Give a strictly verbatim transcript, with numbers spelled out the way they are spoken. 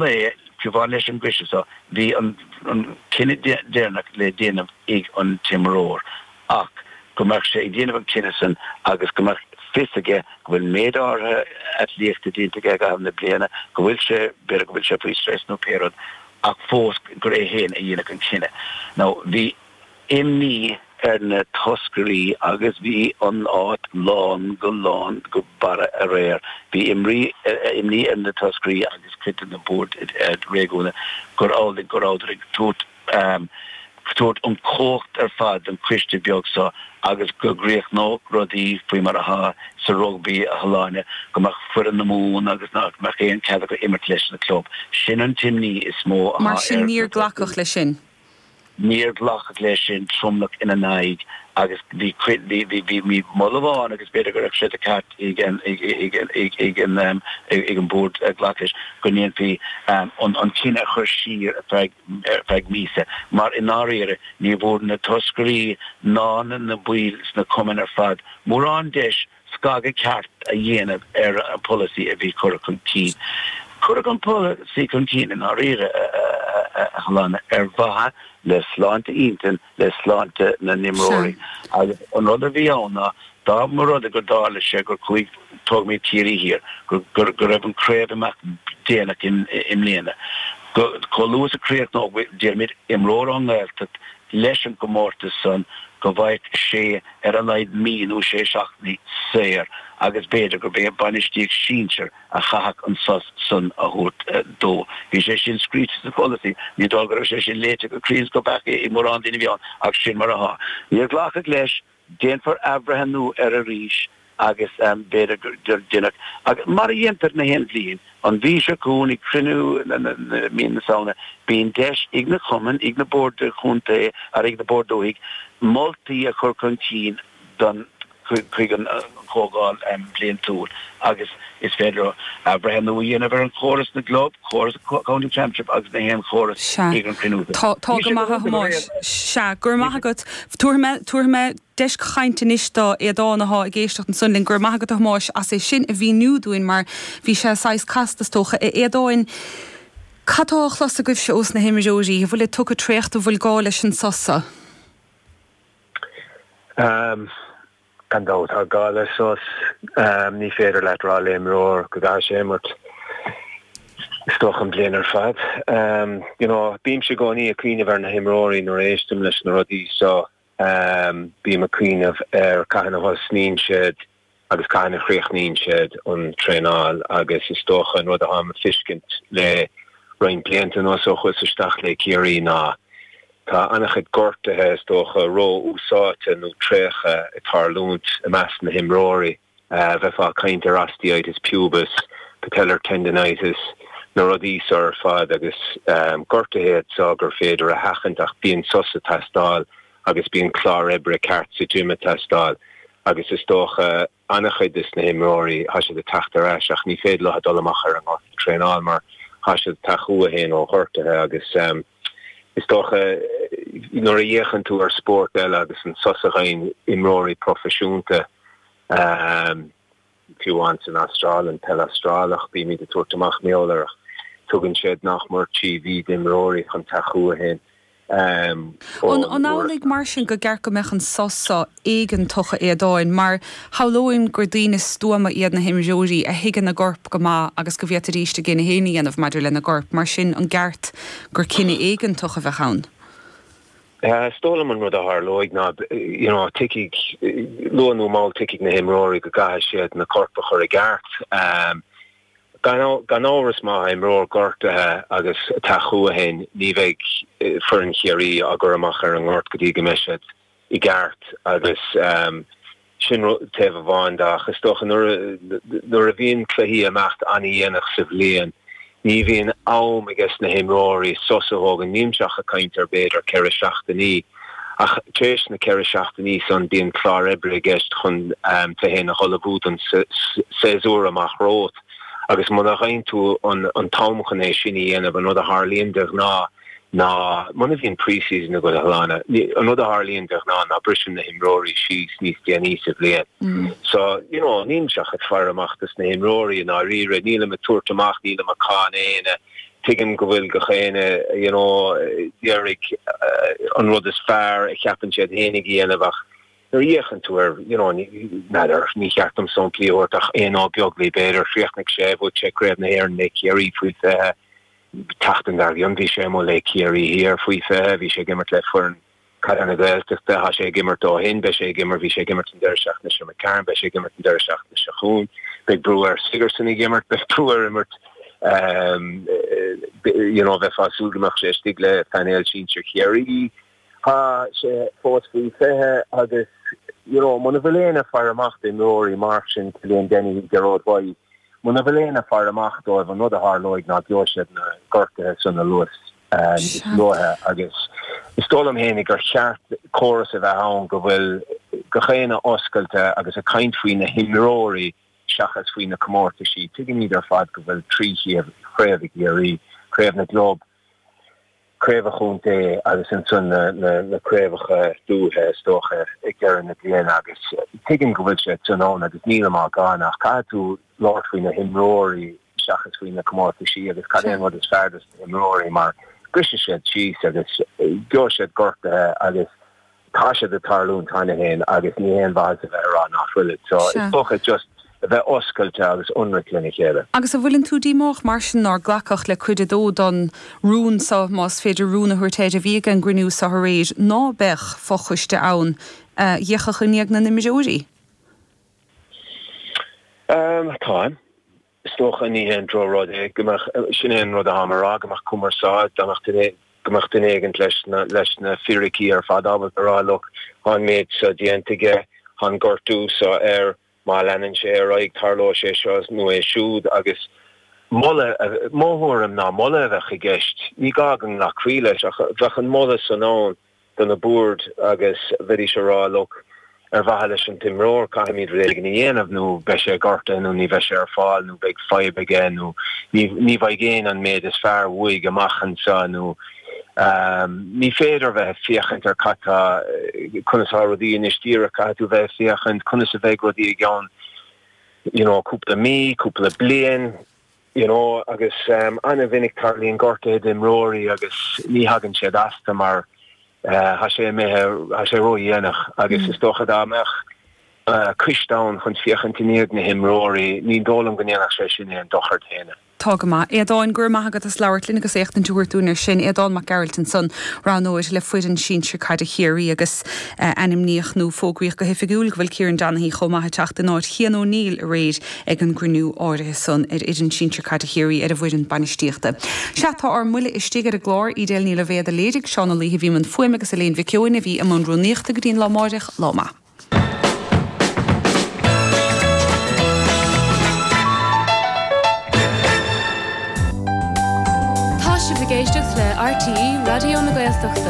lae, fiú amháin leis an gcoiste so, bhí an cinneadh deireanach le déanamh ag an t-imreoir ach go mbeadh sé ag déanamh an cinneadh san agus go mbeadh fios aige go bhfuil méid áirithe eitlíochta déanta aige i gcaitheamh na bliana, go bhfuil sé, b'fhéidir go bhfuil sé faoi stress nó pé rud, ach fós gur é féin a dhéanfadh an cinneadh. Now, bhí imní ar na toscairí agus bhí an áit lán go lán go barra aréir. Bhí imní ar na toscairí agus cuid de na boird réigiúnacha gur amhlaidh go rabhadar ag tabhairt tabhairt an chumhacht ar fad don choiste beag seo agus go gcríochnódh rudaí faoi mar atá sa rugbaí a Shláine, go mbeadh foireann na Mumhan agus nach mbeadh aon cead acu imirt leis na club. Sin an t-imní is mó atá Mar sin ar níor glacadh leis sin. Níor glacadh leis sin, tromlach ina n-aghaidh agus bhí cuid, bhí, bhí, bhí, bhí moladh amháin agus b'fhéidir go raibh sé de cheart ag an, ag, ag, ag, ag an, ag an bord glacadh leis go ndéanfaí an, an cinneadh a chur siar ar feadh, ar feadh míosa mar i ndáiríre ní bhfuair na toscairí ná na, na baill sna cumainn ar fad mórán deis scagadh ceart a dhéanamh ar an bpolasaí a bhí curtha chun cinn. Cuireadh an polasaí chun cinn i ndáiríre, a Shláine, ar mhaithe le sláinte intinn, le sláinte na n-imreoirí. Agus an rud a bhí ann ná dá mba rud é gur tharla sé gur chuaigh, tógfaimid Ciarraí Thiar, go raibh an chraobh ag imeacht déanach i mbliana, go chomh luath is a chríochnódh, déarfaimid, imreoir ón nGaeltacht leis an gcomórtas san, go bhfaigheadh sé ar a laghad mí nó sé seachtainí saor agus b'fhéidir gurb é an bainistíocht sinsir a chaithfeadh an sos san a thabhairt dó. Bhí sé sin scríte sa pholasaí. Ní dóigh go raibh sé sin léite go cruinn is go beacht ag mórán daoine a bhí ann ach sin mar atá. Níor glacadh leis. Déanfar athbhreithniú air arís agus b'fhéidir gur déanfar, agus mar a dhéantar na haon bhliain, an mhí seo chugainn ag cruinniú mí na Samhna, bíonn deis ag na cumainn, ag na boird chontae ar ag na boird dúthaigh moltaí a chur chun cinn don chuig an Chomhdháil Bhliantúil agus is féidir leo athbhreithniú a dhéanamh ar an chóras na gclub, córas County Championship agus na haon chóras Sea. ag an chruinniú. Tá, tá go maith a Thomáis. Sea, go raibh maith agat. Tabharfaidh mé, tabharfaidh mé deis chainte anois do Aodán athá ag éisteacht ansan linn. Go raibh maith agat a Thomáis as é sin a mhíniú dúinn mar bhí sé saghas casta is dócha. A Aodáin, cad tá á chlos agaibhse ós na himreoirí? An bhfuil siad tugtha traochta, an bhfuil gá leis an sos seo? Gan dabht, tá gá le sos. Ní féidir leat rá le imreoir go gcaithfidh sé imirt is dócha an bhliain ar fad. You know, bímse i gcónaí ag cuimhneamh ar na himreoirí nuair a éistim leis na rudaí so. Bím ag cuimhneamh ar cathain a thosnaíonn siad agus cathain a chríochnaíonn siad an traenáil agus is dócha an rud atáim ag feiscint le roinnt blianta anuas ó chuas isteach le Ciarraí ná tá an-chuid gortuithe is dócha ró-úsáidte nó traochta ag tarlúint i measc na himreoirí. Bheifeá ag caint ar osteitis pubis, patellar tendinitis, na rudaí seo ar fad agus gortuithe iad seo gur féidir a sheachaint ach bíonn sos ag teastáil agus bíonn clár oibre ceart sa gym ag teastáil agus is dócha an-chuid des na himreoirí tá siad ag teacht ar ais ach ní féidir leo dul amach ar an ngort ag traenáil mar tá siad ag teacht chucu féin ó ghortuithe agus is dócha nuair a fhéachann tú ar spórt eile agus an sos a fhaigheann imreoirí proifisiúnta fiú amháin san Astráil, an peil Astrálach, bímid ag tabhairt amach mar gheall air ach tugann siad nach mór trí mhí d'imreoirí chun teacht chucu féin An ón uair. amhlaidh mar sin gur ceart go mbeadh an sos seo éigeantach a Aodáin, mar shamhlóinn gur daoine stuama iad na himreoirí a thuigeann a gcorp go maith agus go bhféadfaidís a gcinneadh féin a dhéanamh maidir lena gcorp, mar sin an gceart gur cinneadh éigeantach a bheadh ann? Is dóigh liom an rud a tharlóidh ná you know tiocfaidh, luath nó mall tiocfaidh na himreoirí go gcaithfidh siad na coirp a chur i gceart. Gan gan amhras má tá imreoir gortaithe agus ag teacht chucu féin ní bheidh foireann Chiarraí á gcur amach ar an ngort go dtí go mbeidh siad i gceart agus sin taobh amháin de ach is dócha nuair nuair a bhíonn cluichí ag imeacht an-dhéanach sa bhliain ní bhíonn am ages na himreoirí sos a thógaint, nílimse ach ag caint ar b'fhéidir ceithre seachtainí ach tar éis na ceithre seachtainí san bíonn clár oibre i gceist chun tú féin a ullmhú don séasúr amach romhat agus muna bhfaigheann tú an t-am chun é sin a dhéanamh, an rud a tharlaíonn de ghnáth ná muna bhíonn pre-season agat a Shláine, an rud a tharlaíonn de ghnáth ná briseann na himreoirí síos níos déanaí sa bhliain. So, you know, nílimse ach ag faire amach dos na himreoirí i ndáiríre, nílim ag tabhairt amach, nílim ag cáineadh éinne, Tuigim go bhfuil gach éinne, you know, d'iarraidh an rud is fearr a cheapann siad fhéinig a dhéanamh ach nuair a fhéachann tú air, you know, n'fheadar, ní cheart dom samplaí a thabhairt ach Éanna Ó Beaglaoi b'fhéidir, chríochnaigh sé, bhuaigh sé Craobh na hÉireann le Ciarraí faoi fiche, tseachtain dár gcionn bhí sé amuigh le Ciarraí Thiar faoi fiche, bhí sé ag imirt le foireann Caide na Gaeltachta, tá sé ag imirt ó shin, beidh sé ag imirt, bhí sé ag imirt an deireadh seachtaine seo imigh tharainn, beidh sé ag imirt an deireadh seachtaine seo chugainn, beidh brú ar Sigerson ag imirt, beidh brú air imirt, you know, bheifeá ag súil go mbeadh sé istigh le painéal sinsir Chiarraí. Tá sé fós faoi fiche agus, you know, muna bhfuil éinne ag faire amach d'imreoirí mar sin, Cillian Dennehy, Gearóid Wyse, muna bhfuil éinne ag faire amach dóibh, an rud a tharlóidh ná gheobhaidh siad na gortuithe san anuas níos luaithe agus is dóigh liom fhéinig gur cheart córas a bheith ann go bhfuil gach éinne oscailte agus ag caint faoi na himreoirí seachas faoi na comórtaisí. Tuigimid ar fad go bhfuil trí chraobh ag Ciarraí, Craobh na gClub, Craobh an Chontae agus ansan na craobhacha dúiche is dócha ag deireadh na bliana agus tuigim go bhfuil siad san ann agus nílim á gcáineadh ach caithfidh tú labhairt faoi na himreoirí seachas faoi na comórtaisí agus cad é an rud is fearr dos na himreoirí mar brisfidh siad síos agus gheobhaidh siad gortuithe agus Tá siad ag tarlúint cheana féin agus ní haon mhaitheas a bheith ag rá nach bhfuilid. So is dócha just a bheith oscailte agus ionraic lena chéile. Agus an bhfuileann tú díomách mar sin nár glacadh le cuid a dó don rún so, más féidir rún a thabhairt air, a bhí ag an gcruinniú so aréir, ná beadh fochoiste ann a d'fhéachfadh i ndiaidh na n-imreoirí? Táim. Is dócha ní haon drochrud é go mbeadh, sin é an rud atáim a rá, go mbeadh cumarsáid, dá mbeadh duine, go mbeadh duine éigint leis na, leis na fíricí ar fad ábalta a rá look, tá an méid seo déanta aige, tá an gortú seo air, má leanann sé ar aghaidh tarlóidh sé seo nó é siúd agus moladh, mo thuairim ná moladh a bheadh i gceist, ní gá go nglacfaí leis ach bheadh an moladh san ann. do na boird agus bheidís ag rá look, ar mhaithe leis an t-imreoir caithfimid rud éigin a dhéanamh nó beidh sé gortaithe nó ní bheidh sé ar fáil nó beidh fadhb aige nó ní ní bheidh éinne an méid is fearr uaidh amach anseo nó ní féidir bheith ag féachaint ar cad tá conas atá rudaí anois díreach caithfidh tú bheith ag féachaint conas a bheidh rudaí i gceann you know cúpla mí, cúpla bliain. You know agus an-mhinic tarlaíonn gortuithe d'imreoirí agus ní thagann siad astu mar tá sé imithe, tá sé ródhéanach agus is dócha dá mbeadh coiste ann chun féachaint i ndiaidh na himreoirí, ní dóigh liom go ndéanfadh sé sin aon dochar d'éinne. Tá go maith. Aodán, go raibh maith agat as labhairt linn agus éachtaint a thabhairt dúinn ar sin. Aodán Mac Gearailt ansan, roghnóir le foireann sinsir caide Chiarraí agus ainmníodh nó fógraíodh go hoifigiúil go bhfuil Kieran Donaghy chomh maith ag teacht in áit Chian O'Neill aréir ag an gcruinniú áirithe san ar fhoireann sinsir caide Chiarraí ar an bhfoireann bainistíochta. Sea, tá ár mbuille istigh ar an gclár. Edel Ní Loibhéad a léirigh, Seán Ó Laoithe a bhí i mbun fuaime agus Elaine Mhic Eoin a bhí i mbun rúnaíochta go dtí an lá amáireach. Lá maith. Tá sibh ag éisteacht le RTÉ Raidió na Gaeltachta.